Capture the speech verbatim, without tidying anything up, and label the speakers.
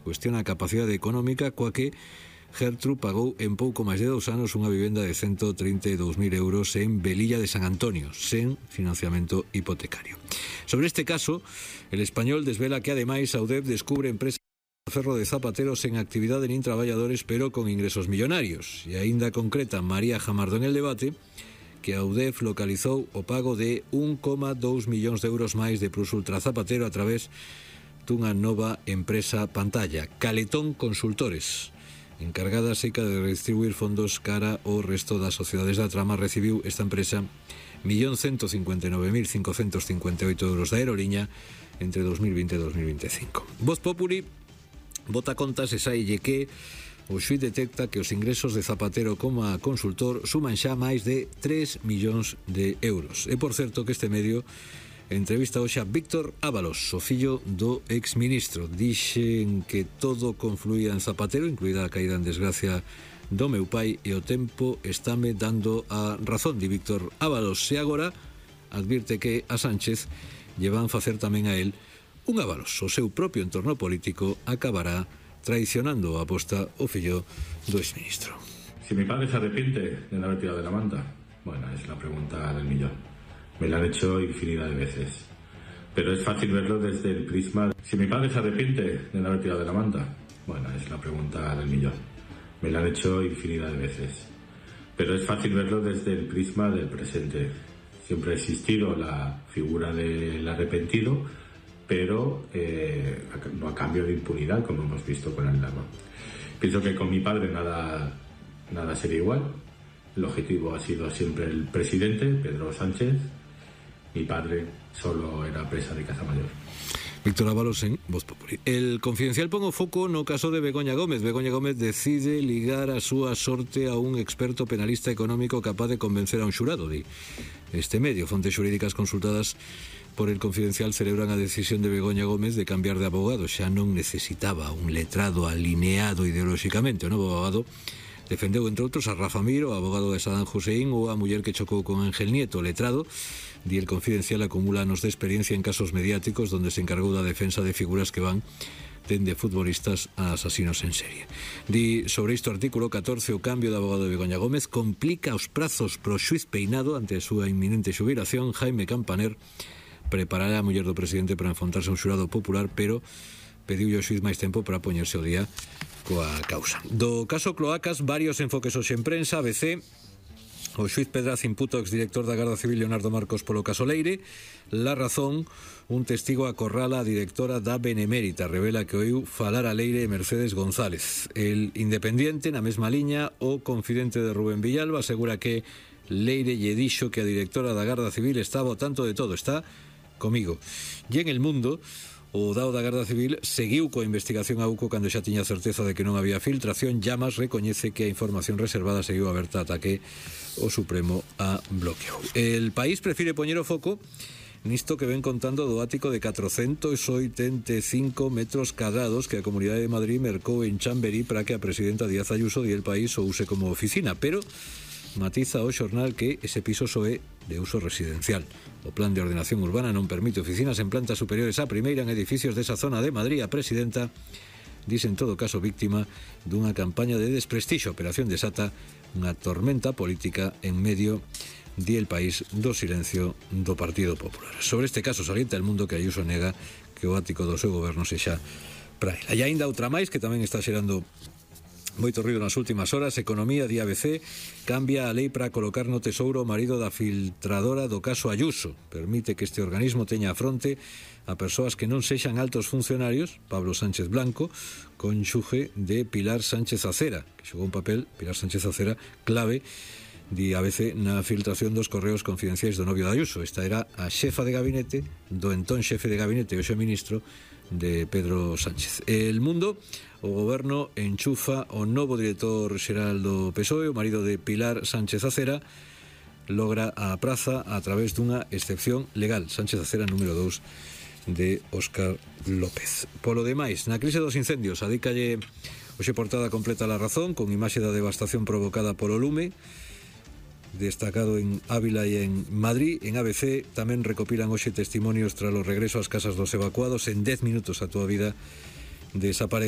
Speaker 1: cuestiona a capacidade económica coa que Gertrude pagou en pouco máis de dous anos unha vivenda de ciento treinta e dous mil euros en Velilla de San Antonio, sen financiamento hipotecario. Sobre este caso, El Español desvela que ademais a U D E F descubre empresas de ferro de zapateros en actividade nin traballadores pero con ingresos millonarios. E aínda concreta María Jamardo en El Debate que a U D E F localizou o pago de un coma dous millóns de euros máis de Plus Ultra Zapatero a través dunha nova empresa pantalla, Caletón Consultores. Encargada seca de redistribuir fondos cara ao resto das sociedades da trama, recibiu esta empresa un millón ciento cincuenta e nove mil cincocentos cincuenta e oito euros da aeroliña entre dos mil vinte e dos mil veinticinco. Voz Populi bota contas e saille que o xuíz detecta que os ingresos de Zapatero como a consultor suman xa máis de tres millóns de euros. E por certo que este medio entrevista hoxe a Víctor Ábalos, o fillo do exministro. Dixen que todo confluía en Zapatero, incluída a caída en desgracia do meu pai, e o tempo estáme dando a razón, di Víctor Ábalos. E agora advirte que a Sánchez lle van facer tamén a él un Ábalos. O seu propio entorno político acabará traicionando a aposta o fillo do exministro.
Speaker 2: Si mi padre se arrepiente de no haber tirado de la manta, bueno, es la pregunta del millón. Me la han hecho infinidad de veces. Pero es fácil verlo desde el prisma... Si mi padre se arrepiente de no haber tirado de la manta, bueno, es la pregunta del millón. Me la han hecho infinidad de veces. Pero es fácil verlo desde el prisma del presente. Siempre ha existido la figura del arrepentido, pero eh, no a cambio de impunidad, como hemos visto con Aldama. Pienso que con mi padre nada, nada sería igual. El objetivo ha sido siempre el presidente, Pedro Sánchez. Mi padre solo era presa de caza mayor.
Speaker 1: Víctor Ábalos en Voz Populi. El Confidencial pon o foco no caso de Begoña Gómez. Begoña Gómez decide ligar a súa sorte a un experto penalista económico capaz de convencer a un xurado. Di este medio, fontes xurídicas consultadas por El Confidencial celebran a decisión de Begoña Gómez de cambiar de abogado. Xa non necesitaba un letrado alineado ideolóxicamente. O novo abogado defendeu, entre outros, a Rafa Mir, o abogado de Saddam Hussein, ou a muller que chocou con Ángel Nieto. Letrado, di El Confidencial, acumula anos de experiencia en casos mediáticos donde se encargou da defensa de figuras que van dende futbolistas a asasinos en serie. Di sobre isto artículo catorce, o cambio de abogado de Begoña Gómez complica os prazos pro xuiz Peinado ante a súa inminente xubilación. Jaime Campaner preparará a muller do presidente para enfrontarse a un xurado popular, pero pediu ao xuiz máis tempo para poñerse ao día coa causa. Do caso Cloacas, varios enfoques hoxe en prensa. A B C: o xuiz Pedraz imputa ao exdirector da Garda Civil Leonardo Marcos polo caso Leire. La Razón: un testigo acorrala a directora da Benemérita, revela que oiu falar a Leire e Mercedes González. El Independiente, na mesma liña: o confidente de Rubén Villalba asegura que Leire lle dixo que a directora da Garda Civil estaba ao tanto de todo, está comigo. E en El Mundo, o dao da Garda Civil seguiu coa investigación a UCO cando xa tiña certeza de que non había filtración. Llamas recoñece que a información reservada seguiu aberta ata que o Supremo a bloqueou. El País prefire poñer o foco nisto que ven contando do ático de catrocentos oitenta e cinco metros cadrados que a Comunidade de Madrid mercou en Chamberí para que a presidenta Díaz Ayuso di El País o use como oficina, pero matiza o xornal que ese piso só é de uso residencial. O plan de ordenación urbana non permite oficinas en plantas superiores á primeira en edificios desa zona de Madrid. A presidenta dice en todo caso víctima dunha campaña de desprestixio. Operación desata unha tormenta política en medio di El País do silencio do Partido Popular. Sobre este caso salienta El Mundo que Ayuso nega que o ático do seu goberno sexa para ela. E aínda outra máis que tamén está xerando moito ruido nas últimas horas. Economía, di A B C, cambia a lei para colocar no tesouro o marido da filtradora do caso Ayuso. Permite que este organismo teña a fronte a persoas que non sexan altos funcionarios. Pablo Sánchez Blanco, cónxuge de Pilar Sánchez Acera, que xogou un papel, Pilar Sánchez Acera, clave, di A B C, na filtración dos correos confidenciais do novio de Ayuso. Esta era a xefa de gabinete do entón xefe de gabinete, o xe ministro de Pedro Sánchez. El Mundo: o goberno enchufa o novo director xeral do P S O E, o marido de Pilar Sánchez Acera, logra a praza a través dunha excepción legal. Sánchez Acera, número dous de Óscar López. Polo demais, na crise dos incendios, adícalle hoxe portada completa La Razón, con imaxe da devastación provocada polo lume, destacado en Ávila e en Madrid. En A B C tamén recopilan hoxe testimonios tras o regreso ás casas dos evacuados. En dez minutos a túa vida desaparece.